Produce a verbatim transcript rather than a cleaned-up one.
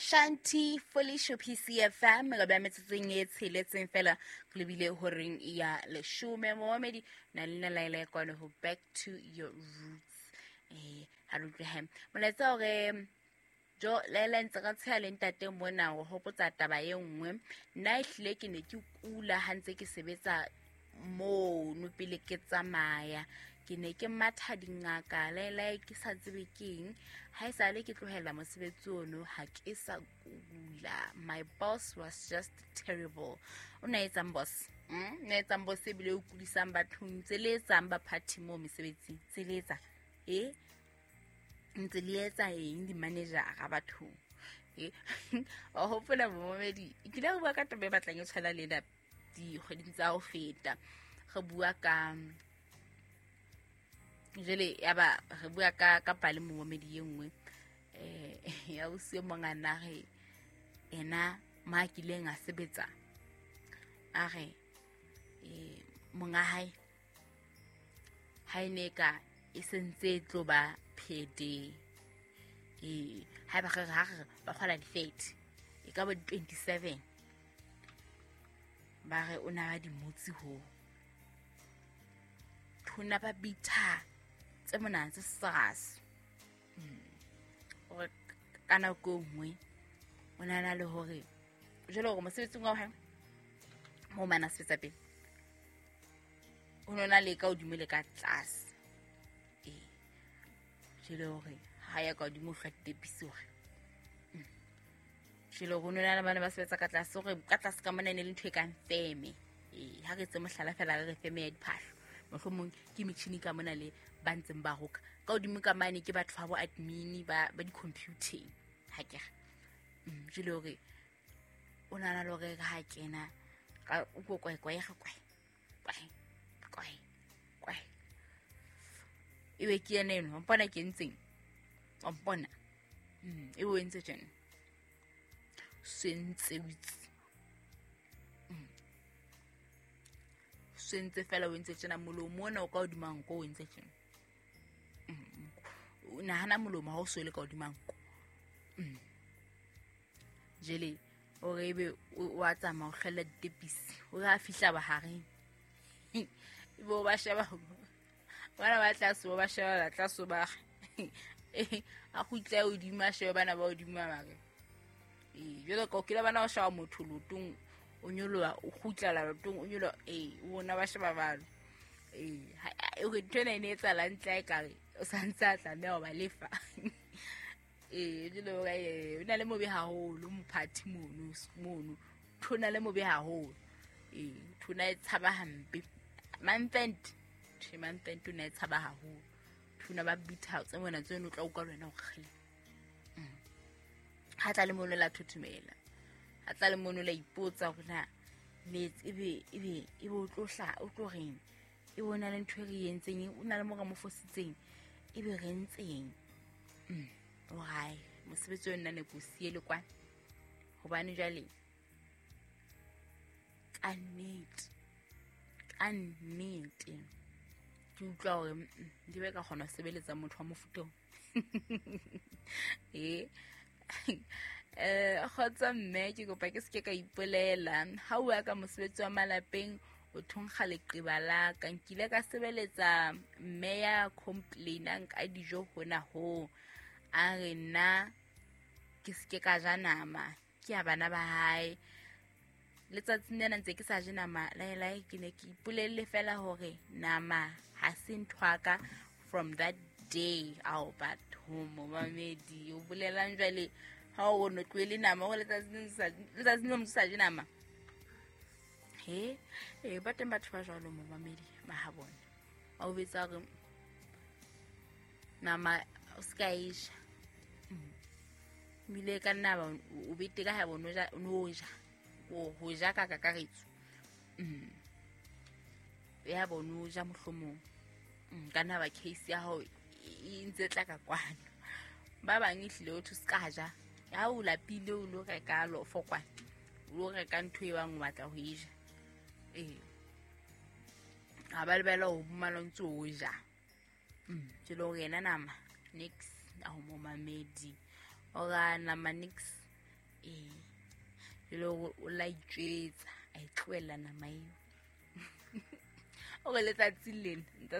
Shanti Folisho P C F M re ba metsotsong e tsheletseng fela re lebile horeng ya leshome. Momamedi na le nna Laila kwano ho Back to Your Roots. Eh ha re utlwe he molaetsa hore jo Laila ntse ka tsheha le ntate mona ho hopotsa taba e nngwe. Nna ehlile ke ne ke kula ha ntse ke sebetsa mono pele ke tsamaya, ke ne ke matha dingaka Laila ke sa tsebe keng. Ha e sale ke tlohela mosebetsi ono ha ke sa kula. My boss was just terrible. O na etsang boss? Mm, na etsang boss ebile o kudisang bathong, tse le etsang ba party mo mesebetsing, tse le etsa eh ntse le etsa eng di-manager-a bathong? Eh wa hopola momamedi, ke ile ka bua ka taba e batlang e tshwana le ena dikgweding tsa ho feta. Re bua ka jwale ya ba re bua ka ka pale momamedi e nngwe eh ya ausi e mong a na re ena ma kileng a sebetsa, a re eh monga hae ha e ne ka e sentse e tlo ba P D eh ha ba re ha re ba kgola di-thirty e ka ba di-twenty-seven, ba re o na ba dimotsi ho thona ba bitha tse mona tse sas. Hore ka nako e nngwe o na na le hore jwale hore mosebetsing wa hae mo mana sebetsa pele o no na le ka hodimo le ka tlase. Eh jwale hore ha ya ka hodimo o hlwa ditepisi hore jwale hore o no na le bana ba sebetsa ka tlase, hore ka tlase ka mona e ne le ntho e kang feme. Eh ha re tse mohlala fela re re feme ya diphahlo, mohlomong ke metjhini ka mona le ba ntseng ba roka ka hodimo ka mane ke batho ba bo admin ba ba di-computing ha ke re. Jwale hore o nahana le hore ha kena ka o ko kwae kwae ga kwae kwae kwae kwae ebe ke yena eno, wa mpona ke entseng, wa mpona ebe o entse tjena sentse o itse sentse fela o entse tjena molomo ona o ka hodima nko o entse tjena. O nahana molomo ha o so le ka hodima nko. Jele o re ebe o a tsamaya o hlwella ditepisi, o re a fihla bahareng ebe o ba sheba bana ba tlase, o ba sheba ba tlase ba a kgutla hodimo a shebe bana ba hodimo ba re ee jwalo ka o kile bana o sheba motho lotong o nyoloha o kgutlela lotong o nyoloha ee o bona ba sheba balo ee o ntho ena e ne etsahala ntle ekare o sa ntse a tlameha ho ba lefa. Ee jwale hore o na le mobe haholo mophathi mono mono thona le mobe haholo ee thona e tshaba hampe month-end tjhe month-end o ne e tshaba haholo thona ba bitha tse mona tseno o tla utlwa le wena o kgele. Ha tla le mono la thothomela, ha tla le mono la ipotsa hore na metse ebe ebe ebe o tlo hla o tlo reng, e bona le ntho e re entseng o na le mo re mo fositseng ebe re ntseng. O hae mosebetsi o nna ne ko siele kwana hobane jwale ka nnete ka nnete ke utlwa hore di be ka kgona ho sebeletsa motho wa mofuta o. Eh eh kgotsa mme ke kopa ke seke ka ipolela ha o ya ka mosebetsi wa malapeng o thonkga leqeba la ka. Nkile ka sebeletsa mme ya complainang ka dijo hona ho a re nna ke seke ka ja nama ke ya bana ba hae. Letsatsing lena ntse ke sa je nama Laila, ke ne ke ipolelle fela hore nama ha se ntho ya ka from that day. Ao batho momamedi o bolelang jwale ha o no tlohele nama o letsatsing letsatsing le motho sa je nama. He eh ba teng batho ba jwalo momamedi ba ha bona ba o betsa hore nama o ska e ja ebile ka nna ba o bete ka ha bona o no ja o ho ja ka kakaretso ya bona o ja mohlomong ka nna ba case ya hao e ntse tla ka kwano. Ba bang ehlile o thu ska ja ha o lapile o lo reka lofo kwana o lo reka ntho e bang o batla ho e ja ee ha ba lebela ho mmala o ntse o ja. Ke le hore yena nama nix a ho momamedi ora nama nix Ee, jale hore o la itjwetsa, a e tlohella nama eo. O re letsatsi lena ntse a sa